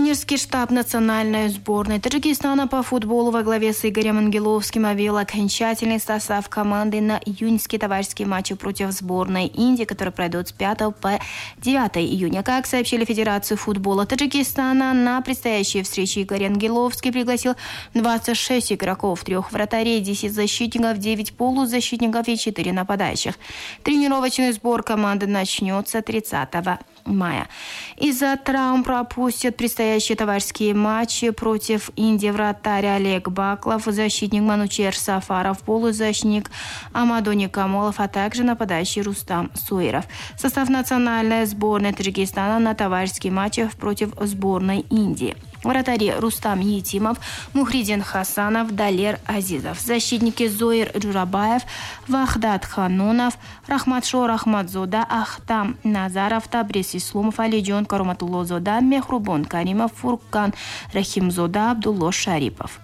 Тренерский штаб национальной сборной Таджикистана по футболу во главе с Игорем Ангеловским объявил окончательный состав команды на июньские товарищеские матчи против сборной Индии, которые пройдут с 5 по 9 июня. Как сообщили Федерации футбола Таджикистана, на предстоящие встречи Игорь Ангеловский пригласил 26 игроков, 3 вратарей, 10 защитников, 9 полузащитников и 4 нападающих. Тренировочный сбор команды начнется 30 мая. Из-за травм пропустят предстоящие товарищеские матчи против Индии вратарь Олег Баклов, защитник Манучер Сафаров, полузащитник Амадони Камолов, а также нападающий Рустам Суиров. Состав национальной сборной Таджикистана на товарищеские матчи против сборной Индии. Вратари Рустам Етимов, Мухридин Хасанов, Далер Азизов. Защитники Зоир Джурабаев, Вахдат Ханунов, Рахматшо Рахматзода, Ахтам Назаров, Табрис Исломов, Алиджон Кароматуллозода, Мехрубон Каримов, Фуркан Рахимзода, Абдулло Шарипов.